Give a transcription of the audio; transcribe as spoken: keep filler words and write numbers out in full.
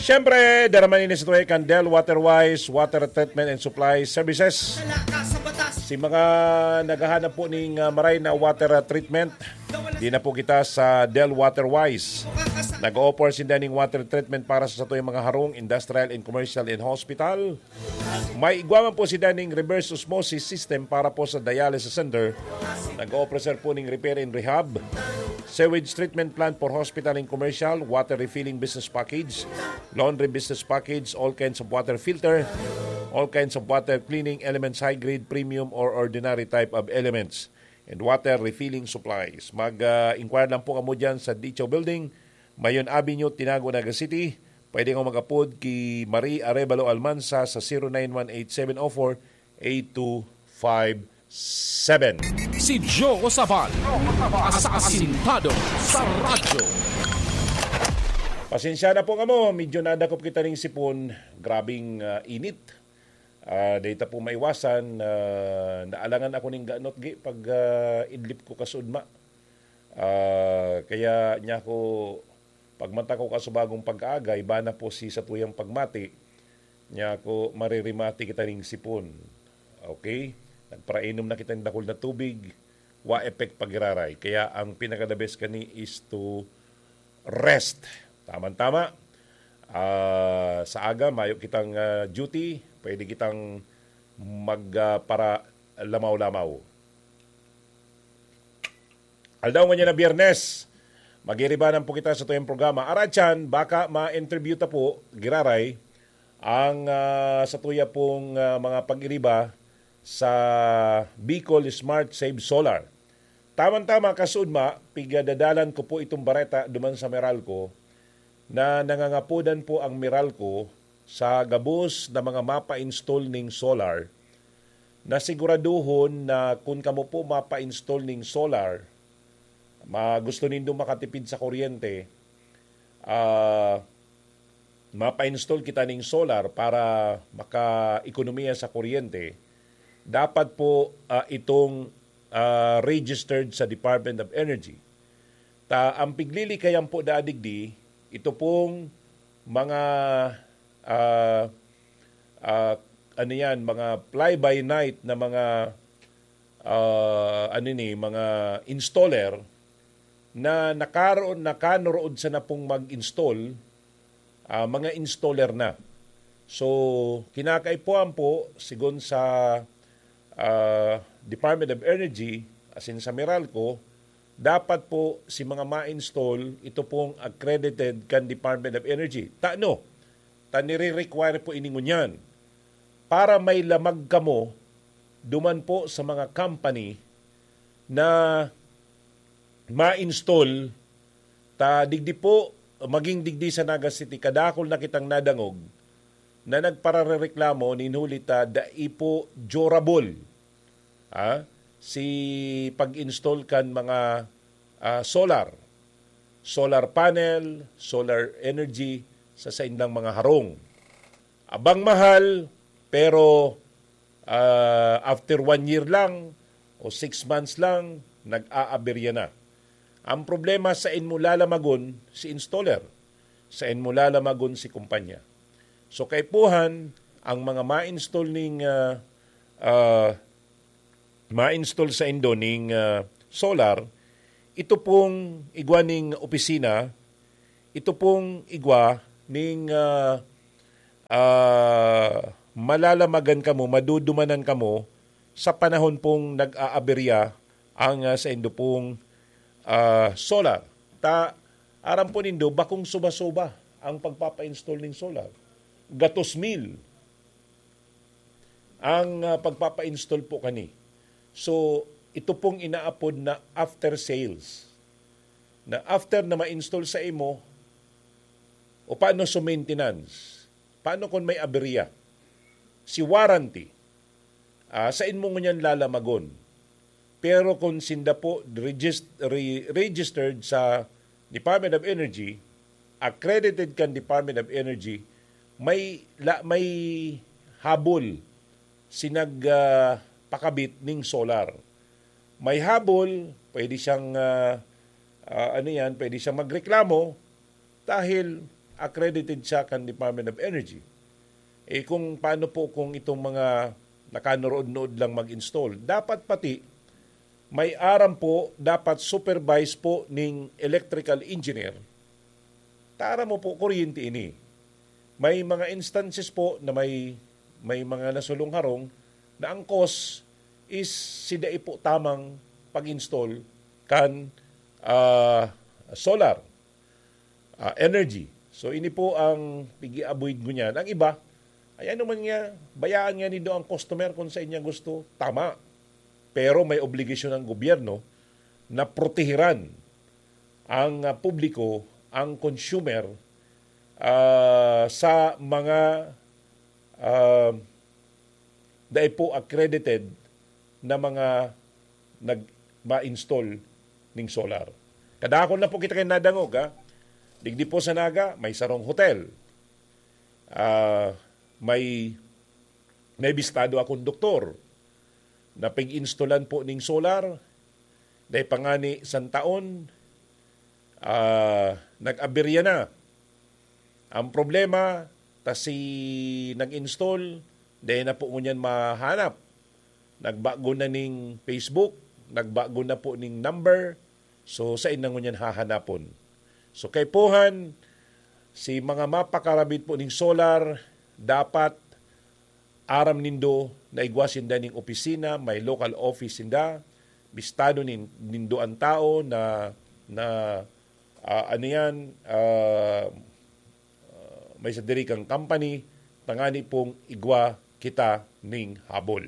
Siyempre, daraman ini sa tuway kan Del Waterwise Water Treatment and Supply Services. Si mga naghahanap po ning, ah, maray na water, ah, treatment, di na po kita sa Del Waterwise. Nag-o-offer sinda ning water treatment para sa satuyang mga harong, industrial and commercial and hospital. May igwa man po sinda ning reverse osmosis system para po sa dialysis center. Nag-o-offer po ning repair and rehab, sewage treatment plant for hospital and commercial, water refilling business package, laundry business package, all kinds of water filter, all kinds of water cleaning elements, high grade, premium, or ordinary type of elements, and water refilling supplies. Mag, ah, inquire lang po kamo dyan sa Dicho Building, Mayon Avenue, Tinago, Naga City. Pwede kamo mag-apod ki Marie Arevalo Almanza sa zero nine one eight seven oh four eight two five seven. Si Joe Sabal, asasintado sa radyo. Pasensya na po kamo, medyo nadakop kita ning sipon. Grabing, ah, init. Ah, dahil ta po maiwasan, ah, naalangan ako ning ganot, gi, pag, ah, idlip ko kasudma. Ah, kaya niya ako, pagmata ko kasubagong pag-aagay, bana po si satuyang pagmati, niya ako, maririmati kita ning sipon. Okay? Nagparainom na kita ng dakul na tubig, wa effect pag-iraray. Kaya ang pinaka-the best kani is to rest. Tama-tama. Ah, sa aga, mayo kitang, ah, duty, pwede kitang mag, ah, para lamaw-lamaw. Aldaw ngunyan na Biyernes, magiribanan po kita sa tuyang programa. Aratyan, baka ma-interview ta po, giraray, ang, ah, sa tuya pong, ah, mga pag-iriba sa Bicol Smart Save Solar. Tama-tama, kasudma, pigadadalan ko po itong bareta duman sa Meralco na nangangapodan po ang Meralco sa gabos na mga mapa-install ning solar, na siguraduhon na kun kamo po mapa-install ning solar, ma-, gusto nindo makatipid sa kuryente, ah, mapa-install kita ning solar para maka-ekonomiya sa kuryente, dapat po, ah, itong, ah, registered sa Department of Energy. Ta ang piglilikayan po da digdi, ito pong mga, ah, ah, ano yan, mga fly-by-night na mga, ah, ano ni, mga installer na nakaro-, nakanorood sana pong mag-install, ah, mga installer na. So, kinakaipuhan po, sigon sa, ah, Department of Energy, asin sa Meralco, dapat po si mga ma-install, ito pong accredited kan Department of Energy. Tano? Ta nire-require po ini ngunyan para may lamag kamo duman po sa mga company na ma-install ta digdi po, maging digdi sa Naga City, kadakul na kitang nadangog na nagpararereklamo nin huli ta dai po durable, ah, si pag-install kan mga, ah, solar, solar panel, solar energy sa saindang mga harong. Abang mahal, pero, ah, after one year lang o six months lang, nag-aaberya na. Ang problema, sain mo lalamagon si installer, sain mo lalamagon si kumpanya. So, kaipuhan, ang mga ma-install ning, ah, ah, ma-install sa indo ning, ah, solar, ito pong igwa ning opisina, ito pong igwa ning, ah, ah, malalamagan kamo, madudumanan kamo sa panahon pong nag-aaberya ang, ah, sa indo pong, ah, solar. Ta, aram po nindo, bakong suba-suba ang pagpapa-install ning solar. Gatos mil ang, ah, pagpapa-install po kani. So, ito pong inaapod na after sales. Na after na ma-install sa imo, o paano sa maintenance? Paano kung may aberya? Si warranty, ah, sain mo ngunyan lalamagon? Pero kung sinda po regist-, re-, registered sa Department of Energy, accredited kan Department of Energy, may la-, may habol si nag, ah, pakabit ning solar. May habol, pwede siyang, ah, ah, ano yan, pwede siyang magreklamo dahil accredited siya kan Department of Energy. Eh, kung paano po kung itong mga nakanurood-nood lang mag-install? Dapat pati may aram po, dapat supervise po ning electrical engineer. Tara mo po, kuryente ini. May mga instances po na may, may mga nasulong harong na ang cause is si dai po tamang pag-install kan, ah, solar, ah, energy. So, ini po ang pigi-avoid ko niyan. Ang iba, ay ano man nga, bayaan nga nindo ang customer kung sa inya gusto, tama. Pero may obligasyon ang gobyerno na protehiran ang, ah, publiko, ang consumer, ah, sa mga, ah, dai po accredited na mga nag-ma-install ning solar. Kadakon na po kita kay nadangog, ha? Digdi po sa Naga, may sarong hotel. Ah, may, may bistado akong doktor na pag-instalan po ning solar, dahil pangani isang taon, ah, nag-aberya na. Ang problema, ta si nag-install, dahil na po ngunyan mahanap. Nagbago na ning Facebook, nagbago na po ning number. So, sa inang ngunyan hahanapon. So, kaipuhan, si mga mapakarabit po ning solar, dapat aram nindo na igwa sinda ning opisina, may local office sinda, bistado nin-, nindo ang tao na, na, ah, ano yan, ah, ah, may sadiri kang company, tangani pong igwa kita ning habol.